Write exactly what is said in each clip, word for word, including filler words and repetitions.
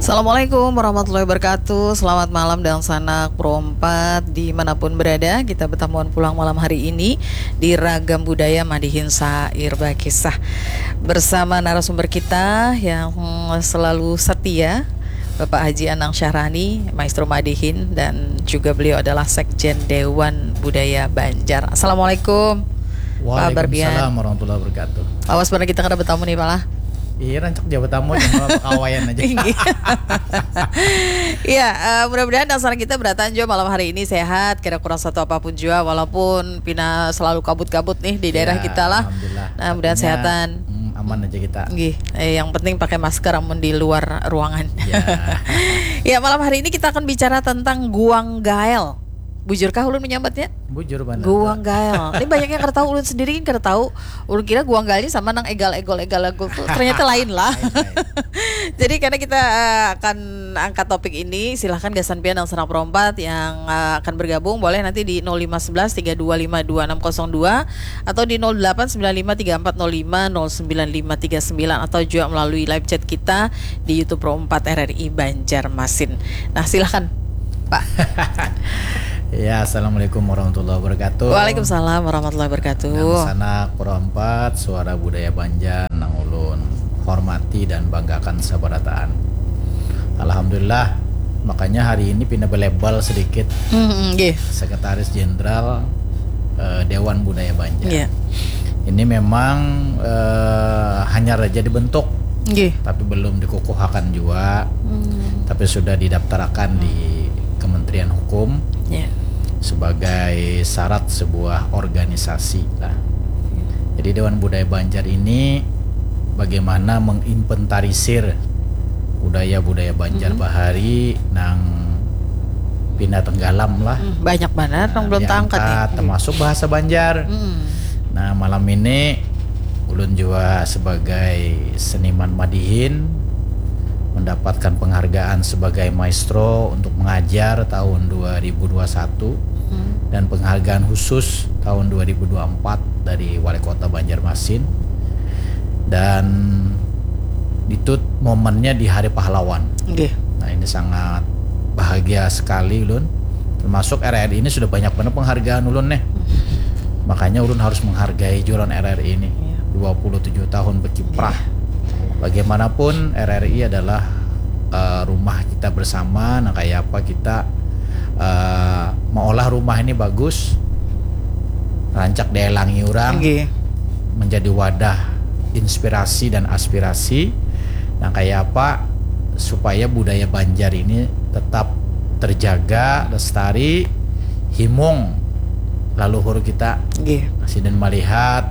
Assalamualaikum warahmatullahi wabarakatuh. Selamat malam dangsanak Pro empat dimanapun berada. Kita bertamuan pulang malam hari ini di Ragam Budaya Madihin Sair Bakisah bersama narasumber kita yang selalu setia, Bapak Haji Anang Syahrani, Maestro Madihin, dan juga beliau adalah Sekjen Dewan Budaya Banjar. Assalamualaikum, Pak Barbian. Waalaikumsalam warahmatullahi wabarakatuh. Awas, pernah kita kada bertamu nih, Pak lah. Iya, rancak jawab tamu cuma pekawaian aja. Iya, eh, mudah-mudahan dasar kita berataan juga malam hari ini sehat, kira kurang satu apapun juga, walaupun pina selalu kabut-kabut nih di daerah Ya, kita lah. Alhamdulillah. Nah, mudahan Artinya, sehatan. mm, aman aja kita. Nggih, eh, yang penting pakai masker amun di luar ruangan. Ya. Ya, malam hari ini kita akan bicara tentang guang gael. Bujurkah ulun menyambatnya? Bujur benar. Guang gael. Ini banyak yang kada tahu, ulun sendiri kan kada tahu. Ulun kira guang gael ini sama nang egal-egol, egal-egol tuh. Ternyata lain lah. Lain, lain. Jadi karena kita eh, akan angkat topik ini, silahkan gasan pian nang senang perompat yang eh, akan bergabung, boleh nanti di nol lima sebelas tiga dua lima dua enam kosong dua atau di nol delapan sembilan lima tiga empat nol lima nol sembilan lima tiga sembilan atau juga melalui live chat kita di YouTube Pro empat R R I Banjarmasin. Nah, silahkan, Pak. Ya, assalamualaikum warahmatullahi wabarakatuh. Waalaikumsalam warahmatullahi wabarakatuh. Dangsanak Pro empat, suara budaya Banjar nang ulun hormati dan banggakan sabarataan. Alhamdulillah, makanya hari ini pina belebal sedikit Hmm, nggih. Sekretaris Jenderal eh, Dewan Budaya Banjar. Iya. Ini memang eh, hanyar aja dibentuk, Nggih. tapi belum dikukuhakan juga. Hmm. Tapi sudah didaftarakan di Kementerian Hukum Ya. sebagai syarat sebuah organisasi lah. Jadi Dewan Budaya Banjar ini bagaimana menginventarisir budaya-budaya Banjar Mhm. bahari nang pina tenggalam lah. Hmm, banyak banget yang belum terangkat nih. Diangkat, termasuk bahasa Banjar. Hmm. Nah, malam ini ulun juga sebagai seniman Madihin mendapatkan penghargaan sebagai maestro untuk mengajar tahun dua ribu dua satu Hmm. dan penghargaan khusus tahun dua ribu dua empat dari Wali Kota Banjarmasin. Dan itu momennya di Hari Pahlawan. Nggih. Nah, ini sangat bahagia sekali ulun. Termasuk R R I ini sudah banyak banget penghargaan ulun nih. Makanya ulun harus menghargai juga lawan R R I ini. Iya. Dua puluh tujuh tahun berkiprah. Bagaimanapun R R I adalah eh, rumah kita bersama. Nah, kayak apa kita eh, mengolah rumah ini bagus, rancak dielangi orang, Nggih. menjadi wadah inspirasi dan aspirasi. Nah, kayak apa supaya budaya Banjar ini tetap terjaga, lestari, himung laluhur kita. Nggih. Sidin melihat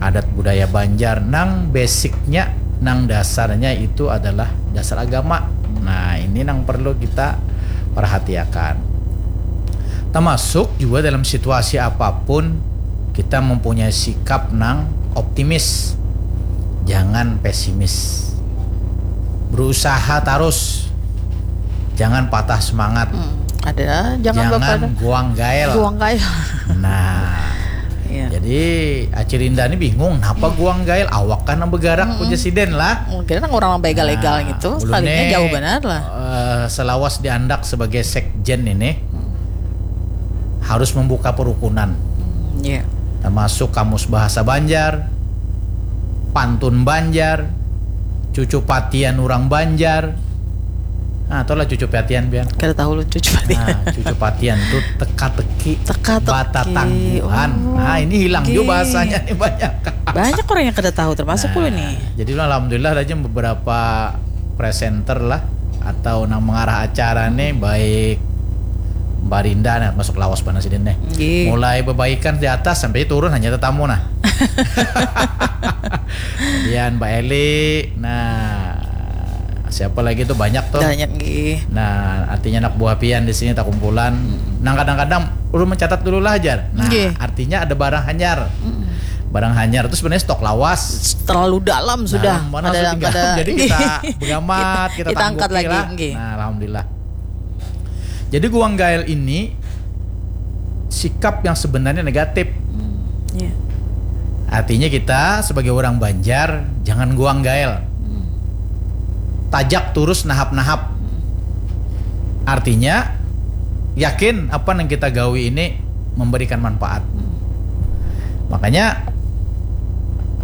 adat budaya Banjar nang basicnya, nang dasarnya itu adalah dasar agama. Nah, ini nang perlu kita perhatiakan. Termasuk juga dalam situasi apapun kita mempunyai sikap nang optimis, jangan pesimis. Berusaha terus, jangan patah semangat. Hmm, ada, jangan, Jangan bapak ada. Guang gael. Guang gael. Nah, Iya. Jadi Acil Indah ini bingung, kenapa guang gael, awak kan nang bergerak, Mm-mm. ujar sidin lah. Mungkin orang nang begal-egal Nah, gitu, ulun sekalinya nih, jauh benar lah. eh, selawas diandak sebagai sekjen ini harus membuka perukunan, Hmm, iya. termasuk kamus bahasa Banjar, pantun Banjar, cucu patian orang Banjar. Nah, tahu lah cucu patian pian. Kada tahu ulun cucu patian. Nah, cucu patian tuh teka-teki, Teka-teki. batatangguhan. Oh, Nah, ini hilang oke. juga bahasanya nih banyak. Banyak orang yang kada tahu, termasuk Nah, ulun nih. Jadi alhamdulillah aja beberapa presenter lah atau nang mengarah acara nih, baik Mbak Rinda, nah, masuk lawas panas ini nih. Nggih. Mulai bebaikan di atas sampai turun hanya tetamu nah. Kemudian Mbak Eli, nah, siapa lagi tuh, banyak tuh. Banyak nggih. Nah, artinya anak buah pian di sini tak kumpulan. Nah, kadang-kadang ulun mencatat dulu lah, Jar. Nah, Nggih. Artinya ada barang hanyar. Mm-mm. Barang hanyar itu sebenarnya stok lawas. Terlalu dalam sudah. Dalam mana Ada sudah yang tinggal. kada. Jadi Nggih. kita begamat, kita, Kita angkat tangguki lagi, lah. Nggih. Nah, alhamdulillah. Jadi guang gael ini sikap yang sebenarnya negatif. Hmm, iya. Artinya kita sebagai orang Banjar jangan guang gael. Hmm. tajak turus nahap-nahap. Artinya, yakin apa yang kita gawi ini memberikan manfaat. Makanya,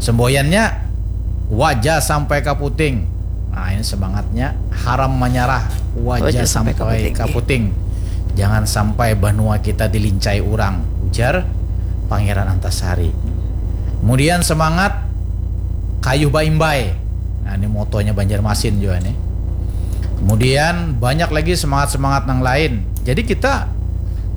semboyannya, wajah sampai kaputing. Nah, ini semangatnya, haram menyerah, wajah, wajah sampai, sampai kaputing, kaputing. Jangan sampai banua kita dilincai orang, ujar Pangeran Antasari. Kemudian semangat, kayuh baimbai. Nah, ini motonya Banjarmasin juga nih. Kemudian banyak lagi semangat-semangat yang lain. Jadi kita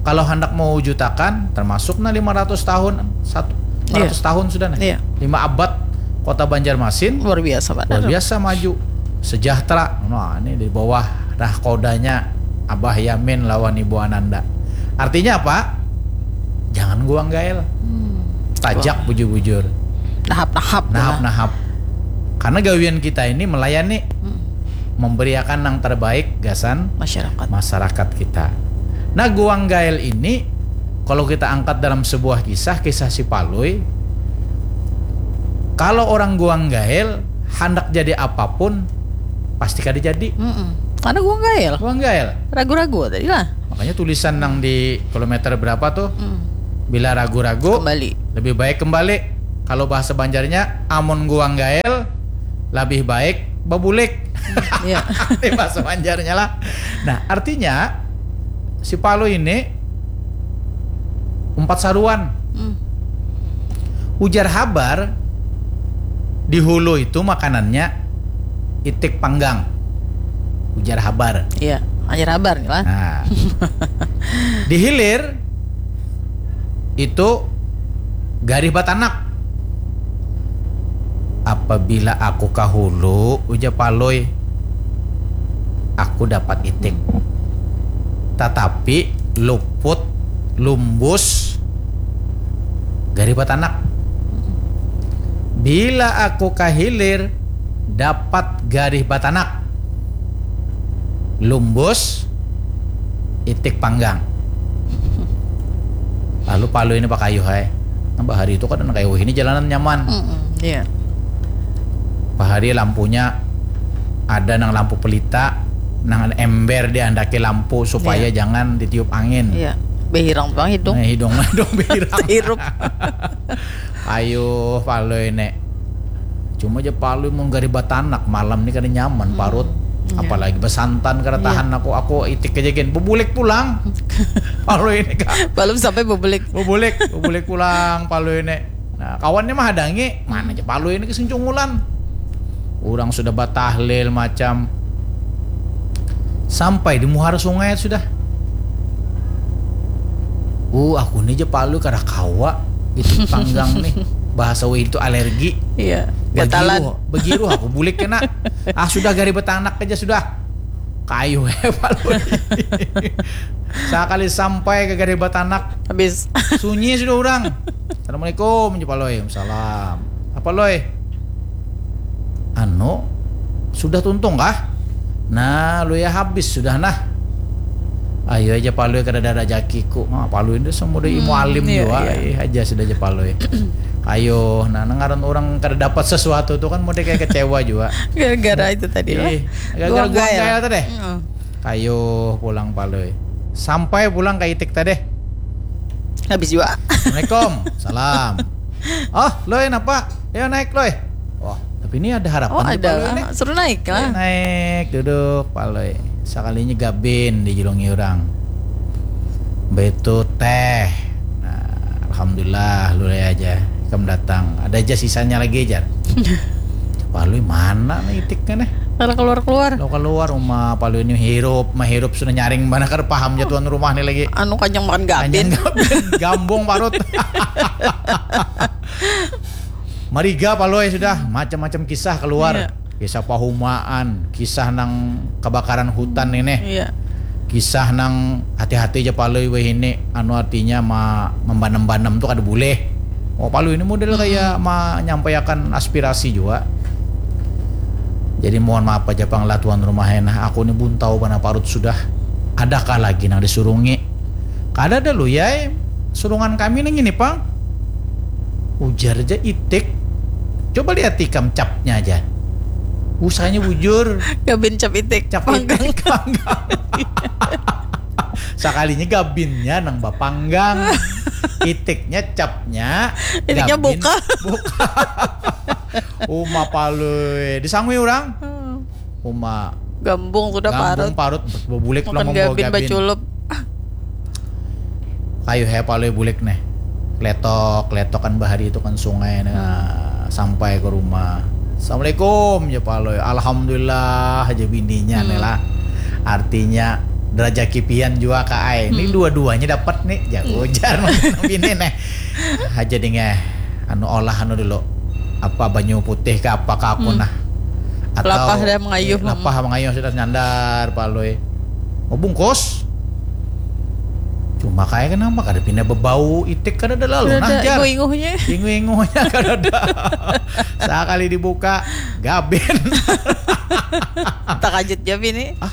kalau hendak mewujudkan, termasuk nah lima ratus tahun, satu, lima ratus tahun sudah nih. Iya. Lima abad kota Banjarmasin. Luar biasa, Pak. Luar biasa maju. Sejahtera. Nah, ini di bawah nahkodanya Abah Yamin lawan Ibu Ananda. Artinya apa? Jangan guang gael. Hmm. Tajak bujur-bujur. Nahap-nahap. Nahap-nahap. Karena gawian kita ini melayani, hmm, memberiakan yang terbaik gasan masyarakat, masyarakat kita. Nah, guang gael ini kalau kita angkat dalam sebuah kisah, kisah si Palui, kalau orang guang gael, handak jadi apapun, pasti kada jadi. Mm-mm. Karena guang gael. Guang gael. Ragu-ragu tadi lah. Makanya tulisan nang di kilometer berapa tuh? Mm. Bila ragu-ragu, kembali. Lebih baik kembali. Kalau bahasa Banjarnya, amun guang gael, lebih baik bebulik. Iya. Ini bahasa Banjarnya lah. Nah, artinya si Palui ini umpat saruan. Hmm. Ujar habar, di hulu itu makanannya itik panggang. Ujar habar. Iya, ujar habar nih lah. Nah. Di hilir itu garih batanak. Apabila aku ka hulu, ujar Palui, aku dapat itik. Tatapi luput, lumbus, garih batanak. Bila aku ka hilir, dapat garih batanak. Lumbus, itik panggang. Lalu Palui ini pakayuh ai. Nang bahari itu kada nang kaya wahini jalanan nyaman. Mm-mm, iya. Bahari lampunya ada nang lampu pelita, nang ember diandaki lampu supaya, iya, jangan ditiup angin. Iya. Behirang tu pang hidung. Nah, hidung, hidung behirang. Hirup. Ayo, Palui nek. Cuma ja Palui mun garih batanak, malam ni kada nyaman, hmm, parut. Iya. Apalagi besantan kada, iya, tahan aku, aku itik aja gin. Bebulik pulang. Palui ini, Kak. Belum sampai bebulik. Bebulik, bebulik pulang Palui ini. Nah, kawannya mah hadangi, mana aja Palui ini kesing cungulan. Orang sudah batahlil macam. Sampai di muhara sungai sudah. Uh, aku ni ja Palui kada kawa. Itu panggang nih. Bahasa wahini itu alergi. Iya, gatalan. Begiruh, begiruh aku bulik kena. Ah, sudah garih batanak aja sudah. Kayu ya Palui. Sakali sampai ka garih batanak. Habis. Sunyi sudah orang. Assalamualaikum, ja Palui. Waalaikumsalam. Apa, Lui? Anu, sudah tuntung kah? Nah, Lui, ya habis sudah nah. Ayo aja Palui, kada ada rajakiku. Ah, Palui ini semua udah ilmu, hmm, alim iya, jua. Iya. Eh, aja sudah aja Palui. Ayo, nah, nang ngaran orang kada dapat sesuatu tu kan model kayak kecewa jua. Gara-gara itu tadi lah. Ih, gara-gara guang gael tadi. Mm. Ayo pulang Palui. Sampai pulang ka itik tadi. Habis jua. Assalamualaikum. Salam. Oh, Lui, napa? Ayo naik, Lui. Wah, tapi ini ada harapan. Oh, ada lah. Suruh naik lah. Ayo naik, duduk, Palui. Sakalinya gabin dijulungi orang. Baitu teh. Nah, alhamdulillah, Lui aja. Ikam datang. Ada aja sisanya lagi, jar. Palui mana nih itiknya nih? Kalau keluar-keluar. Kalau keluar rumah Palui ini hirup, mahirup sudah nyaring mana kada paham ja tuan rumah nih lagi. Anu kanyang makan gabin. Kanyang gabin, gambung parut. Mariga Palui sudah, macam-macam kisah keluar. Iya. Kisah pahumaan, kisah nang kebakaran hutan ini. Iya. Kisah nang hati-hati aja Palui wahini, anu artinya ma-, membanem-banem tu kada boleh. Oh, Palui ini model kayak menyampaikan aspirasi juga. Jadi mohon maaf aja pang lah tuan rumah, nah aku ini buntau banar parut sudah. Adakah lagi nang disurungi? Kada ada, Lui ai, surungan kami nang ini pang. Ujar ja itik. Coba lihat ikam capnya aja. Usahanya bujur. Gabin cap itik. Cap itik panggang. Sakalinya gabinnya nang bapanggang. Itiknya capnya. Itiknya buka. Buka. Uma palui. Disangui orang. Hmm. Uma. Gambung sudah parut. Gambung parut. Bulik lah membawa gabin. Makan gabin baculup. Ayo he palui bulik nih. Letok, letok kan bahari itu kan sungai nih. Hmm. Sampai ke rumah. Assalamualaikum ya palui. Alhamdulillah aja bininya hmm. nih lah. Artinya derajat kipian juga ka ai. Ini hmm. dua-duanya dapat nih. Jago hmm. jar bini nih. Aja dingeh anu olah anu dulu. Apa banyu putih ke apa ke aku hmm. nah. Atau lapah dah mengayuh. Eh, lapah mengayuh sudah nyandar palui. Mau bungkus. Cuma kayak kenapa kada pindah bebau itik kada ada lalu nah jar. Inguh-inguhnya. Inguh-inguhnya kada ada. Sekali dibuka gabin. Takajut jawab ini. Ah,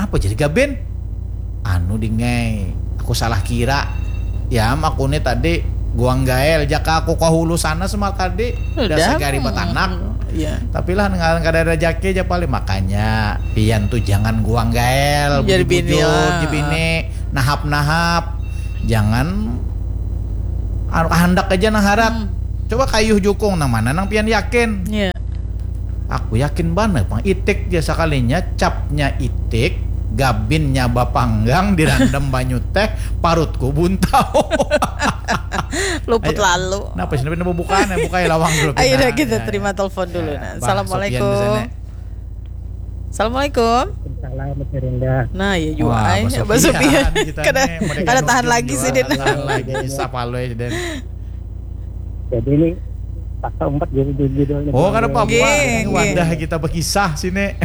apa jadi gabin? Anu dingai, aku salah kira. Ya, aku nih tadi guang gael jaka aku ke hulu sana semar tadi udah segari batanak. Iya. Tapi lah dengan kada ada jaki aja paling makanya pian tuh jangan guang gael bujur-bujur di bini nahap-nahap jangan anu handak aja nah harat. Hmm. Coba kayuh jukung nang mana nang pian yakin? Iya. Aku yakin banar pang itik ja sakalinya capnya itik gabinnya bapanggang dirandam banyu teh parutku buntau. Luput lalu. Napa sih napa bukaan ya bukai lawang dulu. Ayo dah kita terima telepon dulu nah. Assalamualaikum. Assalamualaikum. Salam Mas Rinda. Nah, ya juga ai. Basu pian. Kada tahan lagi sih Din. Tahan lagi kisah palui Din. Jadi ini paksa umpat jadi judulnya. Oh, kada apa-apa. Ini wadah kita berkisah sini.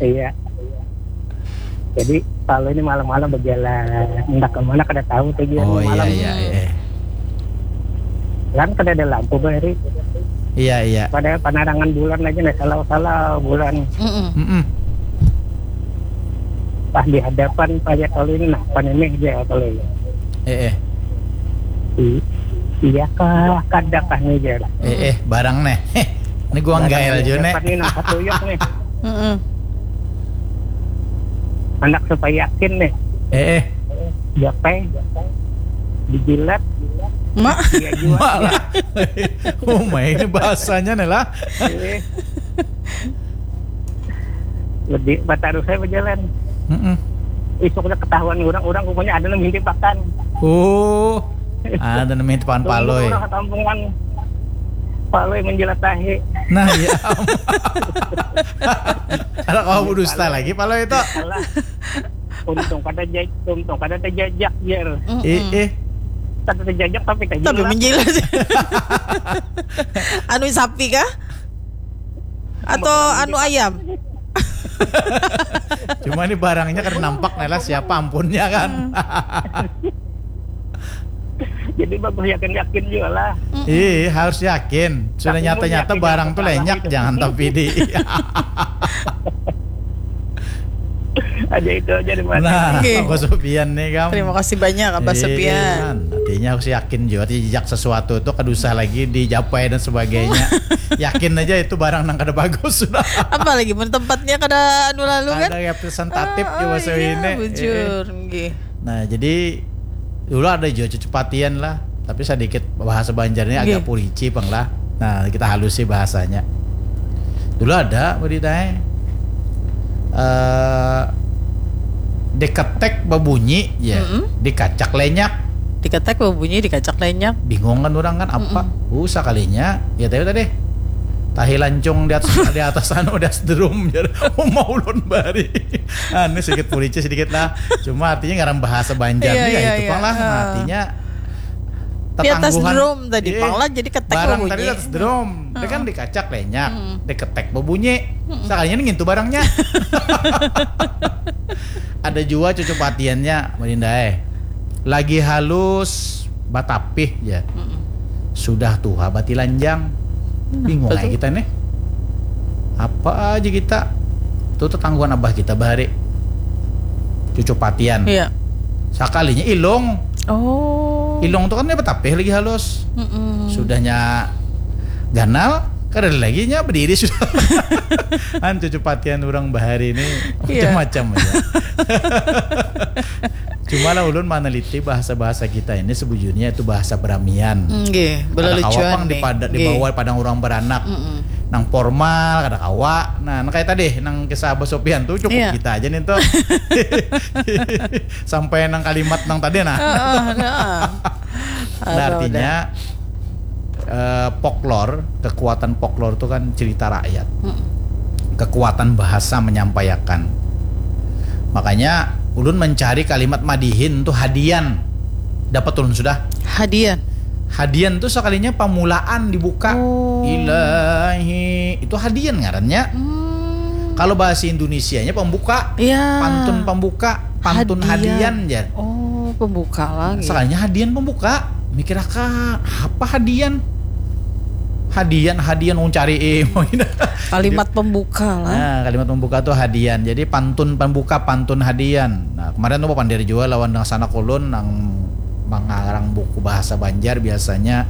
Iya. Jadi kalau ini malam-malam berjalan, entah kemana kada tahu tujuan oh, malam. Iya, iya, iya. Kan kada ada lampu bahari. Iya, iya. Pada penerangan bulan aja nih, salau-salau bulan. Mm -mm. Mm -mm. Pas di hadapan paya kalau ini nah, pan ini aja kalau ini. Eh, eh. Iya kah, kada kah nih aja. Eh, eh, barang nih. Ini gua nggael aja nih. Ini nang satuyuk nih. Anak supaya yakin nih. Eh, eh. Japai. Dijilat. Mak. Iya juga. Mak lah. Oh, main bahasanya nih lah. Lebih batarus saya berjalan. Mm -mm. Isuknya ketahuan orang-orang rupanya ada yang mintip pakan. Oh. Ada yang mintip pakan palui. Orang kampungan. Palui menjilat tahi. Nah, iya. Ada kau dusta lagi palui itu. Untung kada jaj, untung kada terjajak jer. Eh, eh. Kada terjajak tapi terjajak. Tapi menjilat. Anu sapi kah? Atau anu ayam? Cuma ini barangnya kan nampak lah siapa ampunnya kan. Jadi bagus yakin-yakin juga lah. Iya, harus yakin. Sudah nyata-nyata barang tuh lenyak jangan tapi di. Aja itu aja di mana. Nah, okay. Abah Sofian nih kamu. Terima kasih banyak Abah Sofian. Artinya harus yakin juga jejak sesuatu itu kada usah lagi dijapai dan sebagainya. Yakin aja itu barang nang kada bagus sudah. Apalagi mun tempatnya kada anu lalu kan. Ada representatif oh, juga oh, iya, bujur. Eh. Nah, jadi dulu ada juga cucu patian lah, tapi sedikit bahasa Banjarnya agak purici pang lah. Nah, kita halusi bahasanya. Dulu ada berita eh uh, diketek berbunyi ya, mm -hmm. Dikacak lenyak. Diketek berbunyi dikacak lenyak. Bingung kan orang kan apa? Mm -hmm. Uh, sekalinya ya tadi tadi tahi lancung di atas di atas anu di atas drum jadi oh, mau ulun bari. Anu sedikit purici sedikit lah. Cuma artinya ngaran bahasa Banjar yeah, nih yeah, ya itu yeah. Pang lah. Uh. Artinya tetangguhan. Di atas drum tadi yeah. Pang lah jadi ketek barang tadi atas drum. Hmm. Dia kan dikacak lenyak, hmm. Diketek berbunyi. Hmm. Sekalinya ngintu barangnya. Ada juga cucu patiannya, Melinda eh. Lagi halus, batapih ya. Hmm. Sudah tuha batilanjang. Nah, bingung aja kita nih. Apa aja kita? Tuh tetangguan abah kita bahari. Cucu patian. Iya. Sakalinya ilung. Oh. Ilung tuh kan dia batapih lagi halus. Mm -mm. Sudahnya ganal Kada ada lagi nya, berdiri sudah. Kan cucu patian orang bahari ini macam-macam aja. Cuma lah ulun meneliti bahasa-bahasa kita ini sebujurnya itu bahasa beramian. Nggih, kada kawa pang dipada, dibawa padang orang beranak. Nang formal kada kawa. Nah, nang kayak tadi, nang kisah Abah Sopian tuh cukup iya. Kita aja nih tuh. Sampai nang kalimat nang tadi nah. Nah, artinya eh, folklore, kekuatan folklore itu kan cerita rakyat. Kekuatan bahasa menyampaikan. Makanya ulun mencari kalimat madihin tuh hadian. Dapat ulun sudah. Hadian. Hadian tuh sekalinya pamulaan dibuka. Oh. Ilahi, itu hadian ngarannya. Hmm. Kalau bahasa Indonesianya pembuka. Iya. Pantun pembuka, pantun hadian, hadian jar. Oh, pembuka lagi. Sekalinya hadian pembuka. Mikir akan apa hadian? Hadian, hadian, wong cari eh. Kalimat pembuka lah. Nah, kalimat pembuka tuh hadian. Jadi pantun pembuka, pantun hadian. Nah, kemarin tuh pandir juga lawan dengan sanak ulun nang mengarang buku bahasa Banjar biasanya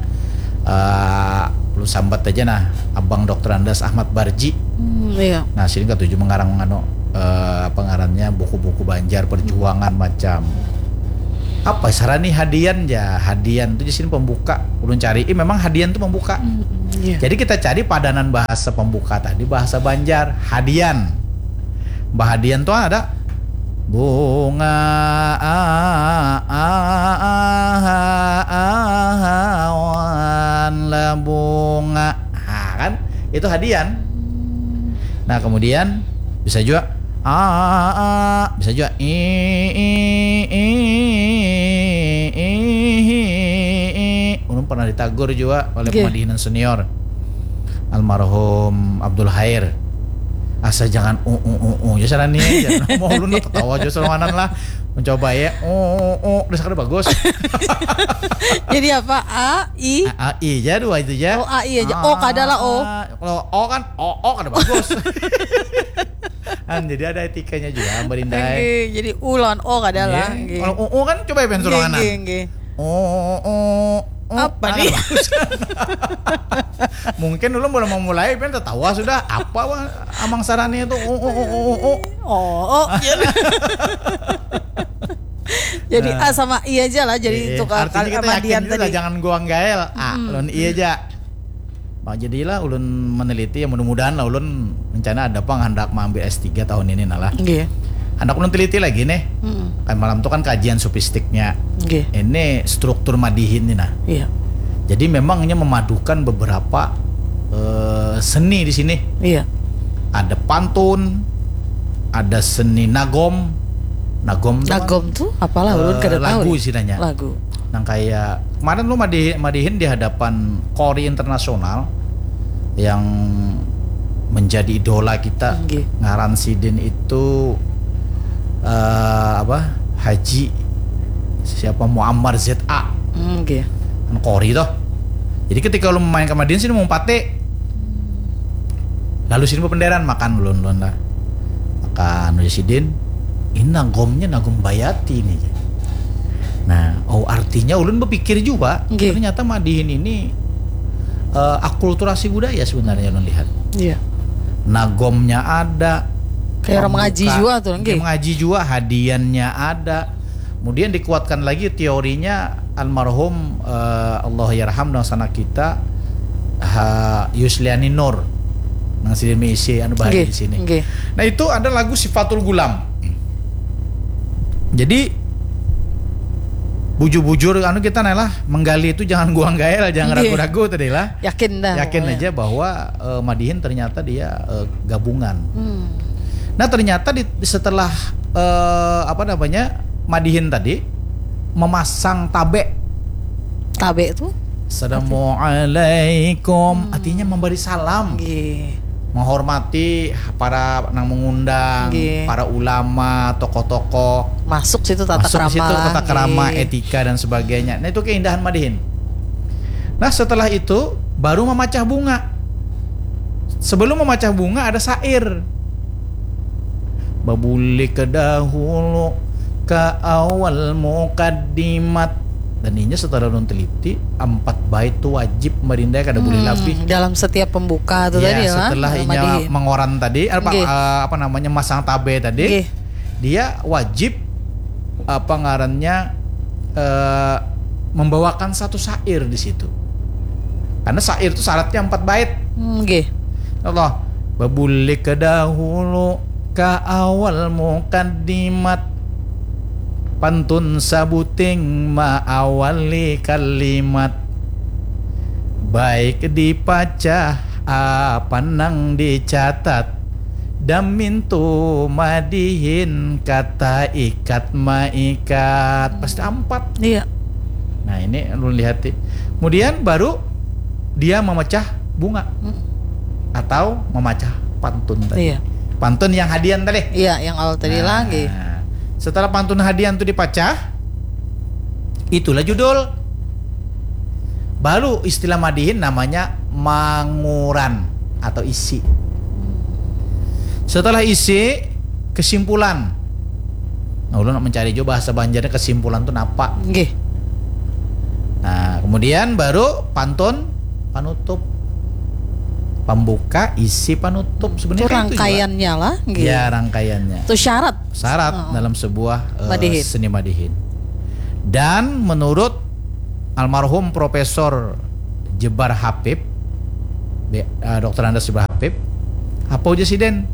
eh lu sambat aja nah Abang Doktor Andas Ahmad Barji. Hmm, iya. Nah, sini katuju mengarang anu eh apa ngarannya buku-buku Banjar perjuangan macam apa sarani hadian ya hadian tuh di sini pembuka ulun cari eh, memang hadian tuh pembuka hmm, iya. Jadi kita cari padanan bahasa pembuka tadi bahasa Banjar hadian bahadian tuh ada bunga awan lah bunga nah kan itu hadian nah kemudian bisa juga a bisa juga i i i i i ulun pernah ditagur juga oleh okay. Pemadihinan senior almarhum Abdul Hair asa jangan u u u u ya sana nih mau ulun ketawa aja selawanan lah mencoba ya u u u udah sekali bagus jadi apa a i a, a i aja dua itu aja oh a i aja o kada lah o kalau o kan o o kada bagus kan jadi ada etikanya juga berindai jadi u lawan o kada lah kalau u u kan coba ya pengen selawanan o o o apa nih mungkin dulu belum memulai pengen tertawa sudah apa amang sarani itu u u u u u o o jadi nah. A sama I aja lah jadi eh, itu kalau artinya kita yakin juga tadi. Jangan guang gael ah hmm. Lawan I aja Nah, jadilah ulun meneliti ya mudah-mudahan lah ulun rencana ada pang hendak mengambil S tiga tahun ini nah lah. Iya. Hendak ulun teliti lagi nih. Hmm. Kan malam tuh kan kajian supistiknya. Iya. Ini struktur madihin nih nah. Iya. Jadi memangnya memadukan beberapa uh, seni di sini. Iya. Ada pantun, ada seni nagom. Nagom tuh. Nagom kan, tuh apalah ulun uh, kada tahu. Lagu istilahnya. Lagu. Nang kayak kemarin lu madihin, madihin di hadapan Kori internasional yang menjadi idola kita okay. Ngaran sidin itu uh, apa Haji siapa Muammar Z A hmm, okay. Kori toh jadi ketika lu main ke Madinah sini mau pate lalu sini penderan makan ulun ulun lah makan sidin ini nagomnya nagom bayati nih nah oh artinya ulun berpikir juga okay. Ternyata madihin ini uh, akulturasi budaya sebenarnya ulun lihat. Iya. Nagomnya ada. Kayak orang mengaji juga tuh, kayak mengaji juga, hadiannya ada. Kemudian dikuatkan lagi teorinya almarhum uh, Allah yarham dan sana kita ha, Yusliani Nur nang sini misi anu bahaya okay. Di sini. Okay. Nah itu ada lagu Sifatul Gulam. Jadi bujur-bujur anu kita nih lah menggali itu jangan guang gael jangan ragu-ragu tadi lah yakin dah yakin aja bahwa uh, madihin ternyata dia uh, gabungan hmm. Nah ternyata di, setelah uh, apa namanya madihin tadi memasang tabe tabe itu Assalamualaikum hmm. Artinya memberi salam Gih. Menghormati para nang mengundang, okay. Para ulama, tokoh-tokoh. Masuk situ tata masuk krama. Situ tata krama, okay. Etika dan sebagainya. Nah, itu keindahan madihin. Nah, setelah itu baru memacah bunga. Sebelum memacah bunga ada syair. Babulik ke dahulu ke awal mukaddimat Dan inya setelah ulun teliti, empat bait tu wajib marindai, kada boleh Hmm, labih. Dalam setiap pembuka tu Ya, tadi lah. setelah inya Madihin. Mangoran tadi, apa, Nggih. eh, apa namanya, masang tabe tadi, Nggih. dia wajib, apa ngarannya, eh, membawakan satu syair di situ. Karena syair itu syaratnya empat bait. Hmm, Nggih. Allah, babulik ke dahulu ke awal mukaddimat. Pantun sabuting maawali kalimat. Baik dipacah apa nang dicatat. Damintu madihin kata ikat maikat. Pasti empat. Iya. Nah, ini ulun lihati. Kemudian baru dia memecah bunga Mm. atau memecah pantun tadi. Iya. Pantun yang hadian tadi. Iya, yang awal tadi Nah, lagi. Setelah pantun hadian itu dipacah, itulah judul. Baru istilah madihin namanya manguran atau isi. Setelah isi, kesimpulan. Nah, ulun nak mencari juga bahasa Banjarnya kesimpulan tu napa. Nggih. Nah, kemudian baru pantun panutup. Pembuka, isi, panutup. Sebenarnya Itu kan itu juga. Rangkaiannya lah, nggih. Ya, rangkaiannya. Itu syarat. Syarat Heeh. Dalam sebuah eh, Madihin. Seni madihin. Dan menurut almarhum Profesor Jebar Habib, B- eh, Doktor Andes Jebar Habib, apa ujar siden?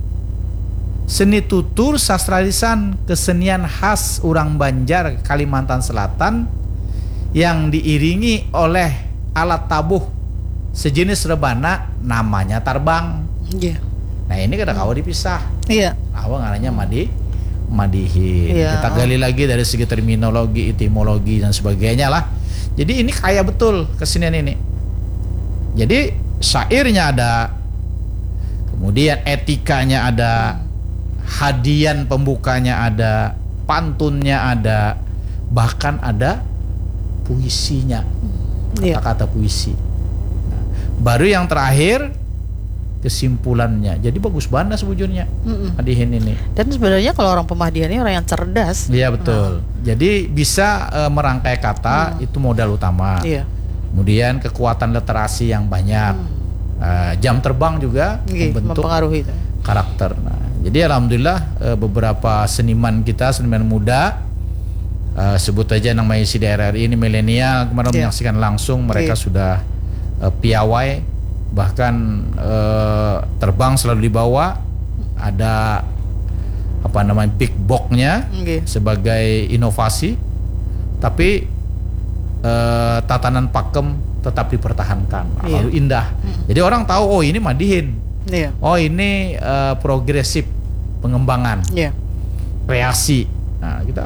Seni tutur sastra lisan, kesenian khas urang Banjar Kalimantan Selatan yang diiringi oleh alat tabuh sejenis rebana namanya tarbang. Iya. Nah, ini kada kawa dipisah. Iya. Apa ngarannya madi madihin. Iya. Kita gali lagi dari segi terminologi, etimologi dan sebagainya lah. Jadi ini kaya betul kesenian ini. Jadi syairnya ada, kemudian etikanya ada, hadian pembukanya ada, pantunnya ada, bahkan ada puisinya. Iya. Kata-kata puisi. Nah, baru yang terakhir kesimpulannya. Jadi bagus banget sebujurnya. Mm-mm. Madihin ini. Dan sebenarnya kalau orang pemadihan ini orang yang cerdas. Iya, betul. Jadi bisa eh, merangkai kata, itu modal utama. Iya. Kemudian kekuatan literasi yang banyak. Eh, jam terbang juga Nggih, membentuk mempengaruhi itu. Karakter. Nah, jadi alhamdulillah eh, beberapa seniman kita, seniman muda, eh, sebut aja nang maisi di R R I ini, milenial, kemarin Iya. Menyaksikan langsung, mereka Iya. sudah eh, piawai, bahkan eh, terbang selalu dibawa, ada apa namanya, big box-nya Nggih. sebagai inovasi, tapi eh, tatanan pakem tetap dipertahankan. Nah, Iya. Lalu indah. Jadi orang tahu, oh, ini madihin. Iya. Oh, ini eh, progresif pengembangan, Iya. kreasi. Nah, kita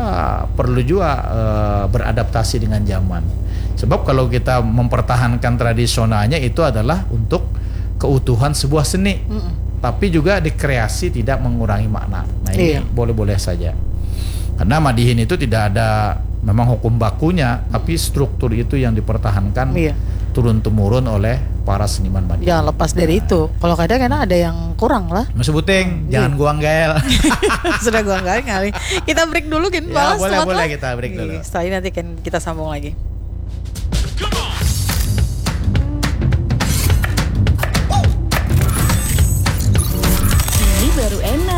perlu juga eh, beradaptasi dengan zaman. Sebab kalau kita mempertahankan tradisionalnya, itu adalah untuk keutuhan sebuah seni. Mm-mm. Tapi juga dikreasi tidak mengurangi makna. Nah, ini Iya. boleh-boleh saja. Karena madihin itu tidak ada memang hukum bakunya, tapi struktur itu yang dipertahankan Iya. turun temurun oleh para seniman madihin. Jangan lepas dari itu. Kalau kadang enak ada yang kurang lah. Mas Buting, Iya. jangan guang gael. Sudah guang gael ngalih. Kita break dulu, Gin. Ya, Balas boleh, tempat boleh lah. Kita break dulu. Iya, setelah ini nanti kan kita sambung lagi. Ini baru enak.